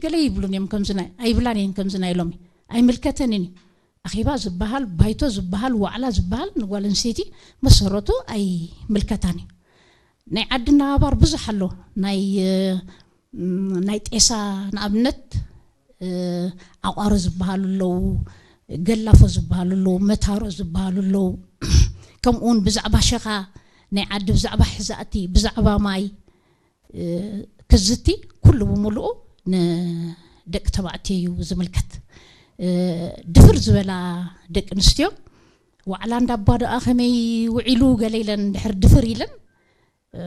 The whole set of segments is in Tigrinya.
ገለ ይብሉን እዮም ከምዚ ናይ ኣይብላን እየን ከምዚ ናይ ሎሚ ኣይምልከተንን እዩ። ኣኼባ ዝበሃል፣ ባይቶ ዝበሃል፣ ዋዕላ ዝበሃል ንጓል ኣንስተይቲ መሰረቱ ኣይምልከታን እዩ። ናይ ዓዲ ኣነባባር ብዙሕ ኣሎ። ናይ እ፣ ም፣ ናይ ጤሳ ንኣብነት እ፣ ዓቋሮ ዝበሃሉ ኣለዉ፣ ገላፎ ዝበሃሉ ኣለዉ፣ መታሮ ዝበሃሉ ኣለዉ። ከምኡ እውን ብዛዕባ ሸኻ ናይ ዓዲ፣ ብዛዕባ ሕዛእቲ፣ ብዛዕባ ማይ እ፣ ክዝቲ ኩሉ ብምሉኡ ንደቂ ተባዕትዮ እዩ ዝምልከት። እ፣ ድፍር ዝበላ ደቂ ኣንስትዮ ዋዕላ እንዳባ ደኣ ከመይ ውዒሉ ገለ ኢለን ድሕር ድፍር ኢለን እ፣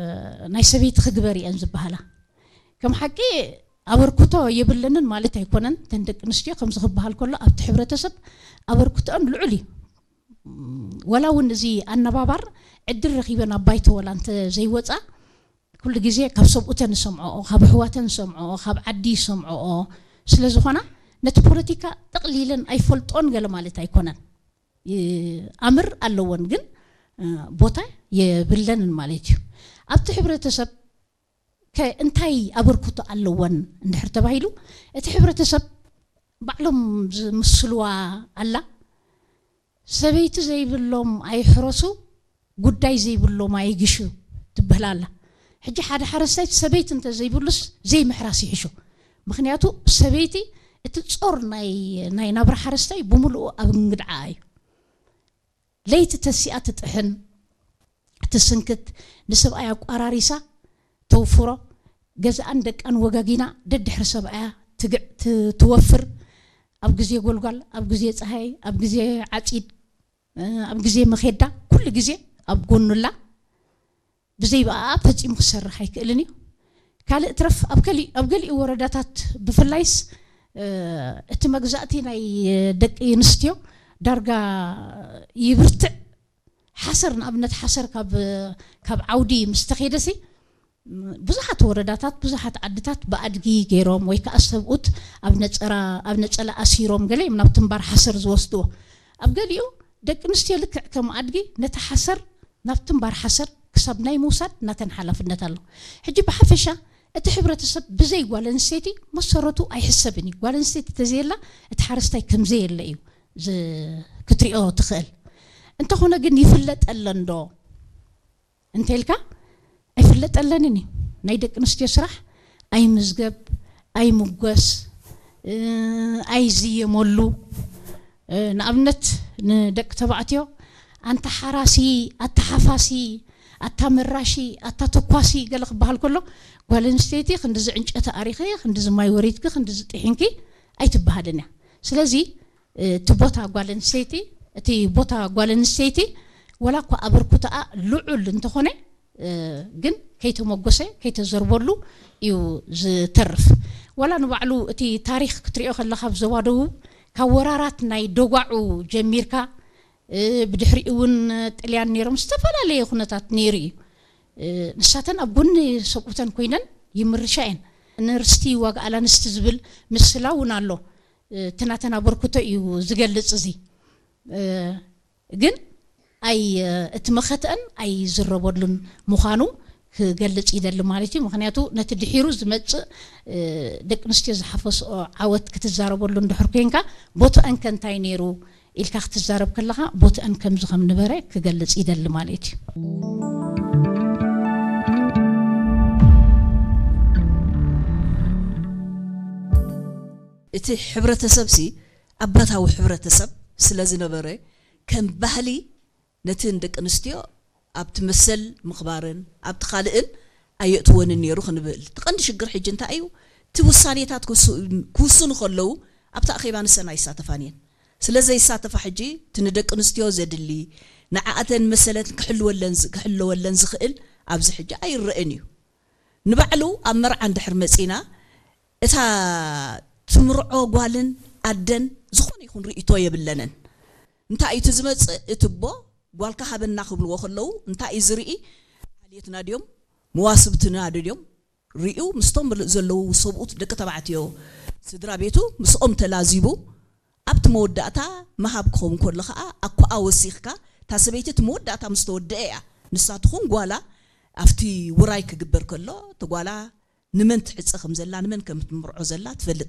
ናይ ሰበይቲ ክግበር እየን ዝበሃላ። ከም ሓቂ ኣበርክቶ የብለንን ማለት ኣይኮነን። እተን ደቂ ኣንስትዮ ከምዚ ክበሃል ከሎ ኣብቲ ሕብረተሰብ ኣበርክቶአን ልዑል እዩ። ወላ እውን እዚ ኣነባባር ዕድል ረኺበን ኣብ ባይቶ ወላ እንተ ዘይወፃ ኩሉ ግዜ ካብ ሰብኡተን ዝሰምዐኦ፣ ካብ ኣሕዋተን ዝሰምዐኦ፣ ካብ ዓዲ ዝሰምዐኦ ስለ ዝኾና ነቲ ፖለቲካ ጠቕሊለን ኣይፈልጦን ገለ ማለት ኣይኮነን። ይ-፣ ኣምር ኣለወን ግን እ፣ ቦታ የብለንን ማለት እዩ። ኣብቲ ሕብረተሰብ ከ እንታይ ኣበርክቶ ኣለወን እንድሕር ተባሂሉ እቲ ሕብረተሰብ ባዕሎም ዝምስልዋ ኣላ። ሰበይቲ ዘይብሎም ኣይሕረሱ፣ ጉዳይ ዘይብሎም ኣይግሹ ትበሃል ኣላ። ሕጂ ሓደ ሓረስታይ ሰበይቲ እንተዘይብሉስ ዘይምሕራስ ይሕሾ። ምኽንያቱ ሰበይቲ እቲ ጾር ናይ ናይ ናብራ ሓረስታይ ብምልኡ ኣብ እንግድዓ እዩ። ለይቲ ተሲኣ ትጥሕን ትስንክት፣ ንሰብኣይ ኣቋራሪሳ ተውፍሮ፣ ገዛኣን ደቃን ወጋጊና ደድሕሪ ሰብኣያ ትግዕ ት- ትወፍር። ኣብ ግዜ ጎልጓል፣ ኣብ ግዜ ፀሃይ፣ ኣብ ግዜ ዓፂድ፣ እ፣ ኣብ ግዜ መኼዳ ኩሉ ግዜ ኣብ ጎኑላ። ብዘይ ብኣኣ ፈጺሙ ክሰርሕ ኣይክእልን እዩ። ካልእ ትረፍ ኣብ ገሊ- ኣብ ገሊኡ ወረዳታት ብፍላይስ እ፣ እቲ መግዛእቲ ናይ ደቂ ኣንስትዮ ዳርጋ ይብርትዕ። ሓሰር ንኣብነት ሓሰር ካብ ካብ ዓውዲ ምስ ተኸይደሲ ብዙሓት ወረዳታት ብዙሓት ዓድታት ብኣድጊ ገይሮም ወይ ከዓ ሰብኡት ኣብ ነፀራ ኣብ ነፀላ ኣሲሮም ገለ እዮም ናብ ትንባር ሓሰር ዝወስድዎ። ኣብ ገሊኡ ደቂ ኣንስትዮ ልክዕ ከም ኣድጊ ነቲ ሓሰር ናብ ትንባር ሓሰር ክሳብ ናይ ምውሳድ ናተን ሓላፍነት ኣሎ። ሕጂ ብሓፈሻ እቲ ሕብረተሰብ ብዘይ ጓል ኣንስተይቲ መሰረቱ ኣይሕሰብን እዩ። ጓል ኣንስተይቲ ተዘየላ እቲ ሓረስታይ ከምዘየለ እዩ ዝ- ክትሪኦ ትኽእል። እንተኾነ ግን ይፍለጠለን ዶ እንተልካ ኣይፍለጠለንን እዩ። ናይ ደቂ ኣንስትዮ ስራሕ ኣይምዝገብ፣ ኣይምጎስ፣ እ፣ ኣይዝየመሉ። እ፣ ንኣብነት ንደቂ ተባዕትዮ ኣንታ ሓራሲ፣ ኣታ ሓፋሲ፣ ኣታ መራሺ፣ ኣታ ተኳሲ ገለ ክበሃል ከሎ ጓል ኣንስተይቲ ክንድዚ ዕንጨቲ ኣሪኺ፣ ክንድዚ ማይ ወሪድኪ፣ ክንድዚ ጥሒንኪ ኣይትበሃልን እያ። ስለዚ እቲ ቦታ ጓል ኣንስተይቲ እቲ ቦታ ጓል ኣንስተይቲ ወላ እኳ ኣበርክቶኣ ልዑል እንተኾነ እ፣ ግን ከይተመጎሰ ከይተዘርበሉ እዩ ዝተርፍ። ወላ ንባዕሉ እቲ ታሪኽ ክትሪኦ ከለኻ ኣብ ዞባ ደቡብ ካብ ወራራት ናይ ደጓዑ ጀሚርካ እ፣ ብድሕሪኡ እውን ጥልያን ነይሮም ዝተፈላለየ ኩነታት ነይሩ እዩ። እ፣ ንሳተን ኣብ ጎኒ ሰብኡተን ኮይነን ይምርሻ እየን። ንርስቲ ዋጋ ኣላንስቲ ዝብል ምስላ እውን ኣሎ። እ፣ እቲ ናተን ኣበርክቶ እዩ ዝገልጽ እዚ። እ፣ ግን ኣይ እቲ መኸተአን ኣይዝረበሉን ምዃኑ ክገልጽ ይደሊ ማለት እዩ። ምኽንያቱ ነቲ ድሒሩ ዝመጽእ እ፣ ደቂ ኣንስትዮ ዝሓፈስኦ ዓወት ክትዛረበሉ እንድሕር ኮንካ ቦትአን ከ እንታይ ነይሩ ኢልካ ክትዛረብ ከለኻ ቦትአን ከምዚ ከም ነበረ ክገልጽ ይደሊ ማለት እዩ። እቲ ሕብረተሰብ ሲ ኣባታዊ ሕብረተሰብ ስለ ዝነበረ ከም ባህሊ ነቲ ንደቂ ኣንስትዮ ኣብቲ መሰል ምኽባርን ኣብቲ ካልእን ኣየእትወንን ነይሩ ክንብል እቲ ቀንዲ ሽግር ሕጂ እንታይ እዩ እቲ ውሳኔታት ክውስኑ ከለዉ ኣብቲ ኣኼባ ንሰን ኣይሳተፋን እየን ስለ ዘይሳተፋ ሕጂ እቲ ንደቂ ኣንስትዮ ዘድሊ ንዓኣተን መሰለን ክሕልወለን ዝኽእል ኣብዚ ሕጂ ኣይረእን እዩ ንባዕሉ ኣብ መርዓ እንድሕር መጺና እታ ትምርዖ ጓልን ኣደን ዝኾነ ይኹን ርእይቶ የብለንን። እንታይ እዩ እቲ ዝመጽእ እቲ ኣቦ ጓልካ ሃበና ክብልዎ ከለዉ እንታይ እዩ ዝርኢ ዓልየትና ድዮም መዋስብትና ድዮም ርእዩ ምስቶም ዘለዉ ሰብኡት ደቂ ተባዕትዮ ስድራ ቤቱ ምስኦም ተላዚቡ ኣብቲ መወዳእታ ምሃብ ክኸውን ከሎ ከዓ ኣኮኣ ወሲኽካ እታ ሰበይቲ እቲ መወዳእታ ምስ ተወደአ እያ ንሳ ትኹን ጓላ ኣብቲ ውራይ ክግበር ከሎ እቲ ጓላ ንመን ትዕፀ ከም ዘላ ንመን ከም ትምርዖ ዘላ ትፈልጥ